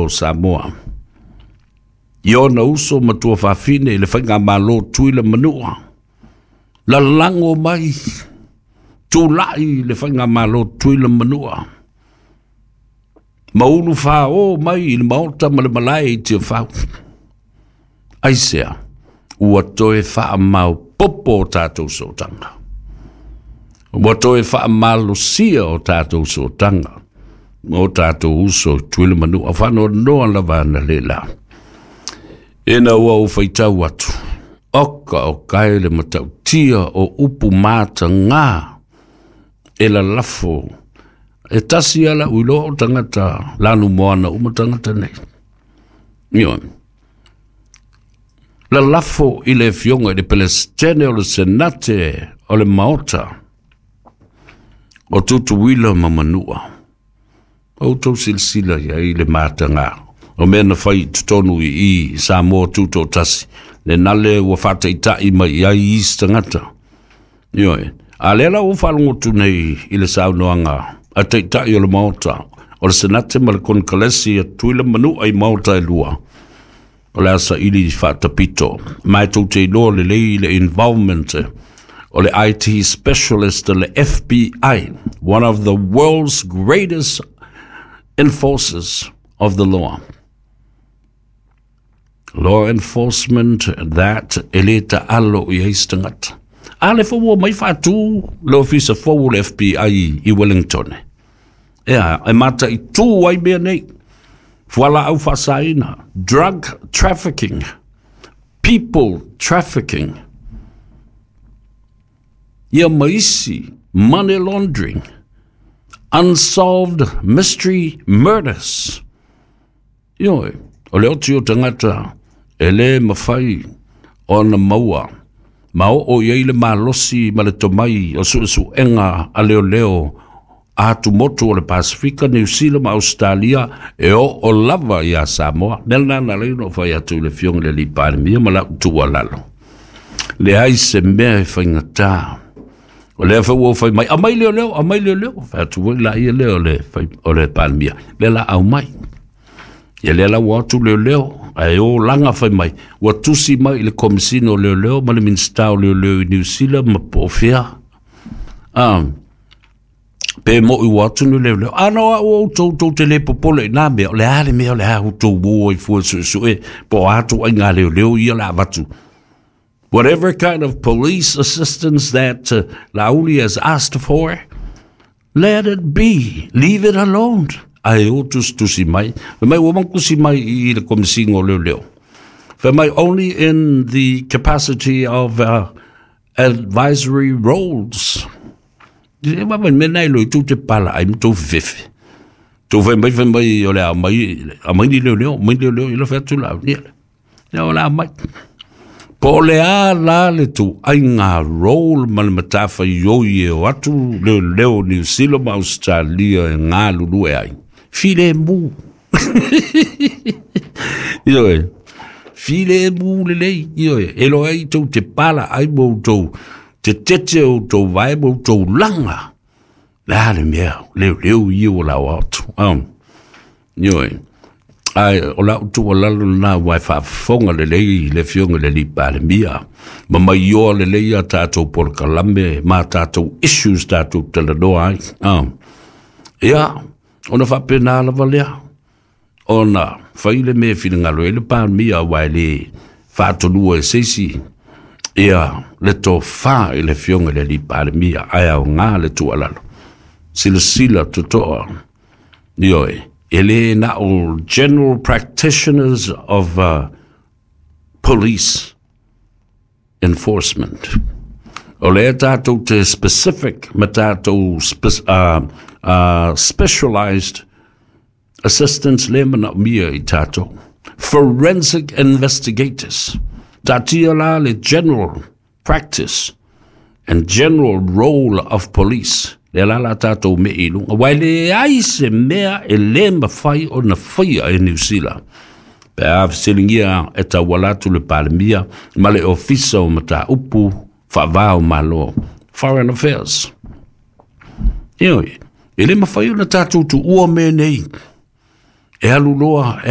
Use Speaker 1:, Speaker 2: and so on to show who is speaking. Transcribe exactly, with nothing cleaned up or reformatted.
Speaker 1: o Samoa i ona uso ma tuafafine i le faigamalo Tutuila ma Manua, lalago mai tulai le faigamalo Tutuila ma Manua ma ulu fāō mai i le maota ma le malae i Tiafau. Aisea? Ua toe faamaopopo o tatou sootaga, ua toe faamalosia o tatou sootaga ma o tatou uso i Tutuila ma Manua. Faanoanoa lava analeila ina ua ou faitau atu, oka o kae le matautia o upu matagā e lalafo e tasi ala ui loa o tagata lanu moana uma tagata nei. Ioe. Lalafo i le afioga i le Peresetene o le Senate o le Maota o Tutuila ma Manua. Outou silasila i ai le matagā o mea na fai i totonu i i Samoa Tutoatasi, lena le ua faataitai mai i ai isi tagata. Ioe. A lea la ua faalogo atu nei i le saunoaga a taitai o le Maota o le Senate ma le Konekaresi a Tutuila ma Manua i maota e lua, o le a saili faatapito. Ma e tou te iloa lelei le involvement o le I T specialist le F B I, one of the world's greatest enforcers of the law. Law enforcement that e le taalo i ai se tagata. A le fou ua mai faatū le ofisa fou o le F B I i Wellington. Ea, e mataitū ai mea nei. Fualaau faasaina, drug trafficking, people trafficking, ia ma isi money laundering, unsolved mystery murders. Ioe, o le oti o tagata e lē mafai ona maua ma oo i ai le malosi ma le tomai o suesuega a leoleo a atumotu o le Pasifika, Niu Sila ma Ausetalia e oo lava iā Samoa. Mea lena na ala ai ona ou fai atu i le afioga i le alii Palemia ma lau tuualalo. Leai se mea e faigatā. O lea foi ua fai mai, aumai leoleo, aumai leoleo. Fai atu foi laia lea o le, fai, o le Palemia. Lea la aumai. Ia lea la ua atu leoleo, ae o laga fai mai. Ua tusi mai i le Komisina o Leoleo ma le Minisita o Leoleo i Niu Sila ma po o fea. Ah, pe moi ua atu ni leoleo. Ana o au outou tou te le popole i nā mea, o le a le mea o le a outou o ai fua suesue, po o atu ai ngā leoleo ia la avatu. Whatever kind of police assistance that uh, Lauli has asked for, let it be. Leave it alone. Ae o tusitusi mai. Fai mai ua makusi mai i le Komisina o Leoleo. Fai mai only in the capacity of uh, advisory roles. E wawa me nei lo i tū te pala ai ma tō fefe. Tō fai mai fai mai o le a mai, a mai ni leoleo, mai leoleo i la fai atu la. Ia, ia o la mai. Po o le a la le tuaiga role ma le matafaioi e o atu leoleo Niu Sila ma Ausetalia e galulue ai. Filemu. Ioe. Filemu lelei. Ioe. E loa ai tou te pala ai ma outou te tete o outou vae ma outou laga. Le a le mea, leoleo ia ua lao atu. Um. Ioe. Ae o lau tuualalo lena ua e faafofoga lelei le afioga i le alii Palemia ma maioa lelei a tatou polokalame ma tatou issues tatou talanoa ai. Ah. Ia, ona faapena lava lea ona fai le mea e finagalo ai le Palemia aua e lē faatolua e se isi ia le tofā i le afioga i le alii Palemia ae aogā le tuualalo. Silasila totoa. Ioe, e lē na o general practitioners of uh, police enforcement. O lea tatou te specific ma tatou spe, uh, uh, specialized assistance le manaomia i tatou. Forensic investigators. Taatia la le general practice and general role of police. Lea la la tatou me i luga. Aua e leai se mea e lē mafai ona faia e Niu Sila. Pe a fesiligia e tauala atu le Palemia ma le Ofisa o Mataupu Faavā o Malo. Foreign Affairs. Ioe, e lē mafai ona tatou tuua mea nei. E alu loa e